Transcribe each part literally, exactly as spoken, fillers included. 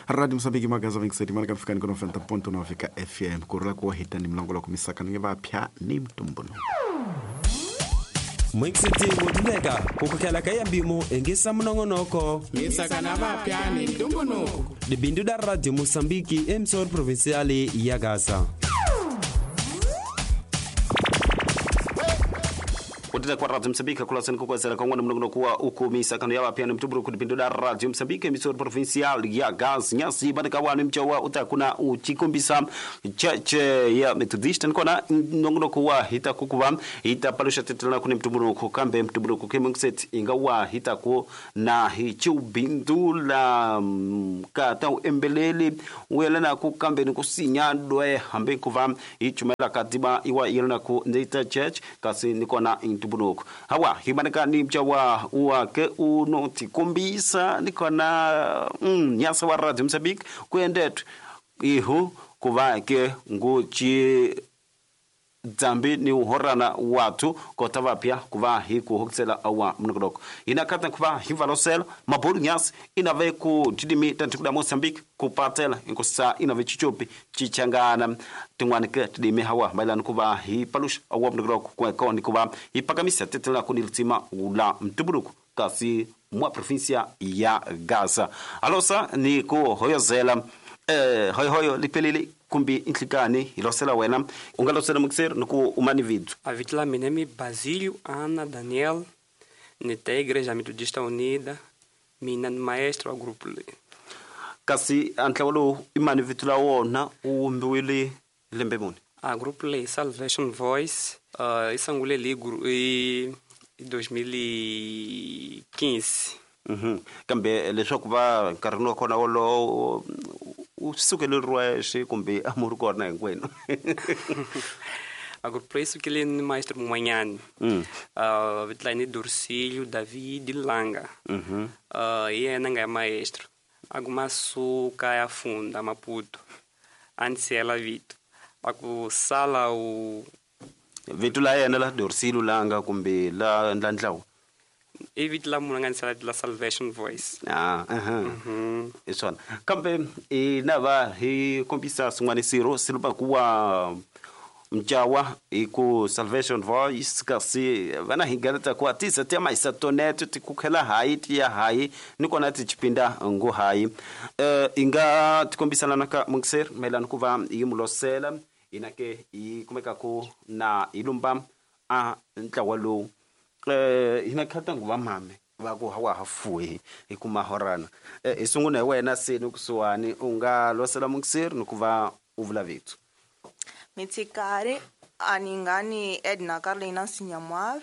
Radio Moçambique magaza vinte e sete marka ficando com noventa ponto nove ka F M kurula ku hita ni mlongo loko misaka ni vapya ni mtumbuno. Mwikisiti muduleka kukukela kaya mbimo engisa mnongonoko misaka na vapya ni mtumbunuko. Dibindu da Radio Moçambique emissora provincial ya Gaza. Utenda kwa Radio Moçambique kula sen kukwezela kongwana mnongono kuwa uku misakano ya vapya ni mtumbunuko kudibindu da Radio Moçambique emissora provincial ya Gaza. Nyasi bandika wa mchawa utakuna uchikumbisa cheche ya Methodist nkona mnongono kuwa hita kukuva hita palusha tetela kuni mtumbunuko kambe mtumbunuko kemungset ingawa hita ku na hichubindula kata embelele uyelana ku kambe nikusinya dwe hambe kuva ichumela katiba iwa yelana ku Ndita Church kasi nikona mtumbunuko hawa himaneka ni mchawa uwake unotikumbisa nikona mm, nyasa wa Radio Moçambique kuendetu ihu kuva ke nguchi dzambi ni uhorana watu kota vapya kuva hiku hoksela awa mnokodoko inakata kuva hivalosela mabolu nyasi inave ku tidimi tantikuda Moçambique kupatela inkosa inave chichopi chichangana tingwanike tidimi hawa mailani kuva hipalusha awa mnokodoko kweko ni kuva hipakamisa tetela kuniltima ula mtuburuku kasi mwa provincia ya Gaza alosa ni ku hoyozela eh hoyo hoyo lipelele kumbi inhlikani hilosela wena ungalosela mukser nuku umani vidu A vitla minemi Basílio Ana Daniel nita Igreja Metodista Unida mina ni maestro wa grupo le kasi antlawalo imani vitu la wona uwumbiwile lembe muni a grupo le Salvation Voice uh, isangule li i dois mil e quinze. Mhm kambe leswaku va nkarhi wa kona wolowo u sukele rwexe kumbe amuri kona hinkwenu A grupo isso que ele maestro Manhani. Mm. Uh, vitla Dorcílio David Langa. Mhm. Uh, e é nanga maestro. Alguma suca ya funda Maputo. Antes ela vito. Aku sala o vitu la yena la Dorcílio Langa kumbe la ndlandlawo. E vito la munanga sala la Salvation Voice. Ah, aha. Mhm. Isona. Kambe e nava hi kombisa swin'wana siro silupa kuwa mchawa iku Salvation Voice kasi vana hingaleta kwa tisa tia maisa toneto tikukhela hayi tiya hayi nikona tichipinda ngu hayi eh inga tikombisana naka mungser melana kuva yimulosela inake ikumeka ku na ilumba a ntlawa lowu eh inakhata nguva mame va ku hawa hafuwe ikuma horana eh isunguna wena seni kusuwani unga losela mungser nikuva uvula vitu Mitsikari aningani Edna Carlina Sinyamwav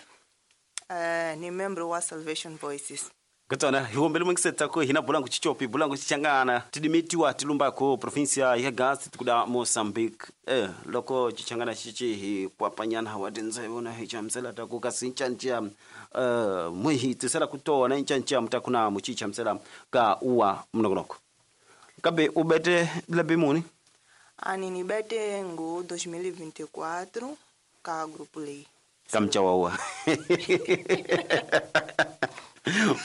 eh ni membro wa Salvation Voices. Kutona hiwombele mungsetsa ko hina bulangu chichopi bulangu chichangana tidimitiwa tilumba ko provincia ya Gaza tikuda Moçambique eh loko chichangana chichi hi kwapanyana hawadinze bona hi chamsela ta ku kasincha eh muhi tisela kutona inchancha mtakuna muchicha msela ka uwa mnogonoko kabe ubete labimuni Ani nibete ngo dois mil e vinte e quatro ka grupo lei. Kamchawawa.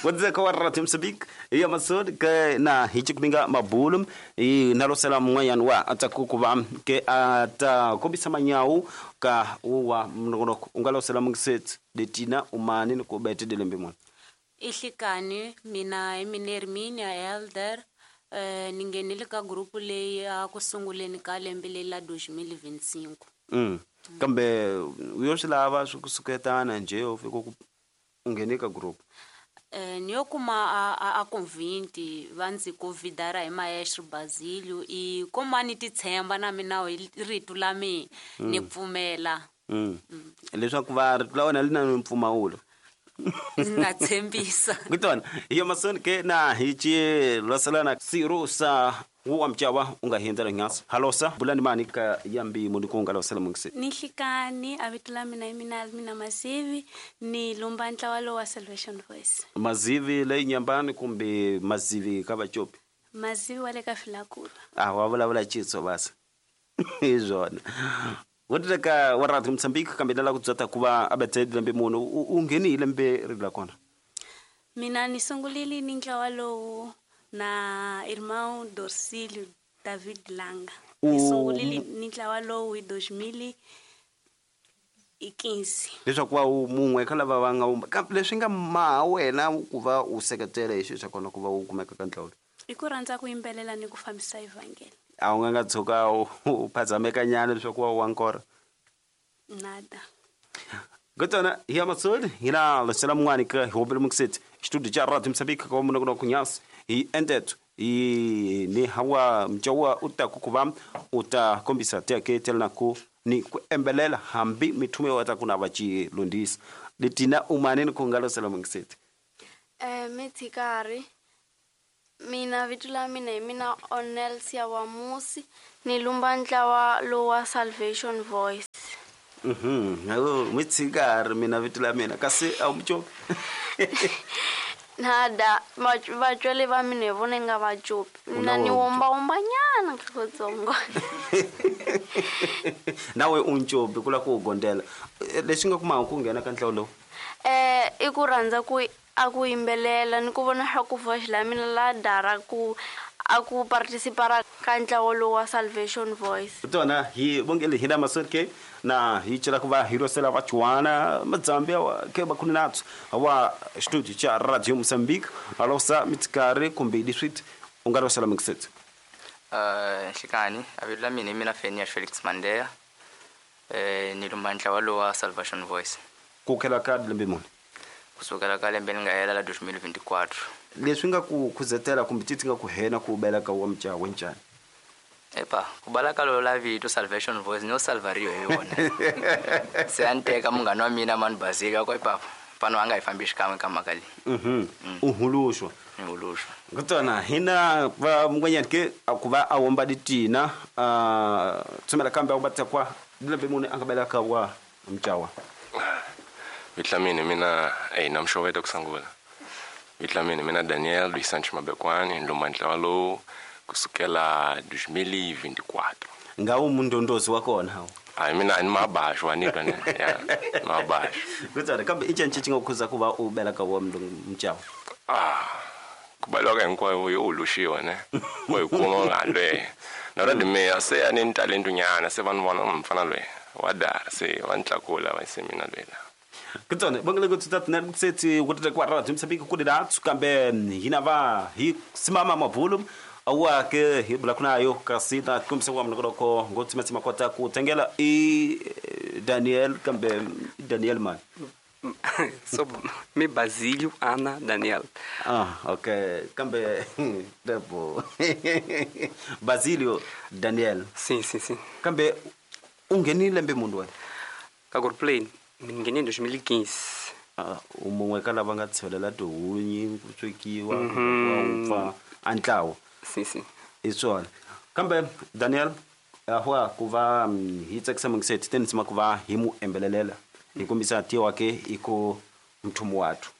Wadzaka kwa Radio Moçambique ya masod ke na hichikuminga mabulum i nalosela mwanyan wa atakukuva ke ata kobisa manyau ka uwa mnogonoko ungalosela mungset detina umani nikubete delembe mwana. Ihlikani mina eminerminia elder eh ningenile ka grupo leyi a kusunguleni ka lembe leri la dois mil e vinte e cinco. Mm. Kambe uyoxilava swi kusuketana nje u fika ku unghene ka group. Eh ni yo kuma a a convinte va ndzi convidara hi maestro Basílio i komani ti tshemba na mina hi rito la mina ni pfumela. Mm. Leswaku va rito la wena li na mpfumawulo. Na tshembisa. Kutona iyo masoni ke na hichi losalana sirusa wa mchawa unga hindela ngasa halosa bulani mani ka yambi munikunga losela mungse ni hlikani avitula mina mina mina mazivi ni lumba ntlawa wa Salvation Voice mazivi le nyambani kumbe mazivi ka vachopi mazivi wale ka filakula ah wa vulavula chitso basa izona Woteka wa Radio Moçambique kambe la ku dzata kuva abethe lembe munhu u nghenile lembe ri la kona Mina ni sungulile ni ntlawa lowu Na irmão Dorcílio David Langa. Ni sungulile ni ntlawa lowu hi dois mil e quinze. Leswaku va u mun'we ka lava va nga wumba kambe leswi nga maha wena ku va u seketela hi xilo xa kona ku va u kumeka ka ntlawa lowu. I ku rhandza ku yimbelela ni ku fambisa evhangeli. A wu nga nga tshuka u u phazamekanyana leswaku wa wa nkora? Nada. Kutana hi ya matsoli hi na lesela mun'wani ka hi hombele mukiseti studio cha Radio Mozambique ka munhu kuna kunyasi hi endeto hi ni hawa mjawa u ta ku ku va u ta kombisa teke tela ku ni ku embelela hambi mithume wa ta ku na va ci lundisa letina umane ni ku nga losela mukiseti. Eh mitsikari mina vito la mina hi mina Onel Siawamusi ni lumba ntlawa lowa Salvation Voice. Mhm oh mitsikari mina vito la mina kasi a mcho nada vatswele va mina hi vona nga va copi mina ni womba womba nyana katsongo. Nawe u ncopi ku la ku gondela leswi nga kuma ku nghena ka ntlawa lowu. Eh i ku rhandza ku a ku yimbelela ni ku vona swa ku voice la mina la dara ku a ku participara ka ntlawa lowu wa Salvation Voice. Tona hi bongele hi na masorke na hi cela ku va hi rosela va chuana madzambia wa ke ba kunatsu wa studio cha Radio Mozambique alosa mitsikari kumbe district u nga rosela mixet. Eh xikani a vito la mina mina Fenia Felix Mandela eh ni lumba ntlawa lowu wa Salvation Voice. Ku khela ka lembe muni? Kusukela ka lembe nga hela la dois mil vinte e quatro. Leswi nga ku khuzetela kumbe titsi nga ku hena ku bela ka wa mjawa wenjani? Epa ku bala ka lo la vito Salvation Voice no salvario hi yona. Se a ni teka munghana wa mina mani Basika ko epapa pano a nga hi fambi xikan'we ka mhaka leyi. Mhm u huluxwa. Ni huluxwa. Kutona hina va mungwanyana ke ku va a womba ditina a tsumela kambe a batsa kwa lembe muni a nga bela ka wa mjawa. Vito la mina mina eh na mxoveto kusangula. Vito la mina mina Daniel Luis Santos Mabekwani ndlomba ntlawa lowu kusukela dois mil e vinte e quatro. Nga u mundondozi wa kona hawo? Hayi mina ni mabaxo wa ni twa ne. Ya mabaxo. Kutana kambe i ncini xi nga khuza ku va u bela ka wa mjawa? Ah ku balwa ka hinkwayo yo uluxiwa ne. Wa hi kuma nga lwe. Na ra dime se a ni talento nyana se vanhu vona mfana lwe wa dara se wa ntlakula va se mina lwela. Kutana bongele ku tsatsa na kutsetsi ku tata kwa Radio Mozambique ku didatsu kambe hina va hi simama mabulu awa ke hi bula kuna yo kasi na kumbisa wa mnoko ko ngotsima tsima kota ku tengela i Daniel kambe Daniel man. So me Basílio Ana Daniel. Ah okay kambe debo Basílio Daniel. Sim sim sim. Kambe ungenile lembe mundu wena? Ka group plane ni nghene dois mil e quinze. Ah umun'we ka lava nga tshelela tihunyi ku swekiwa wa upfa a ntlawa. Sim sim. I swona. Kambe Daniel ahwa ku va hi tsakisa mungiseti teni tsima ku va hi mu embelelela hi kombisa tiwa ke i ku mthumu wathu.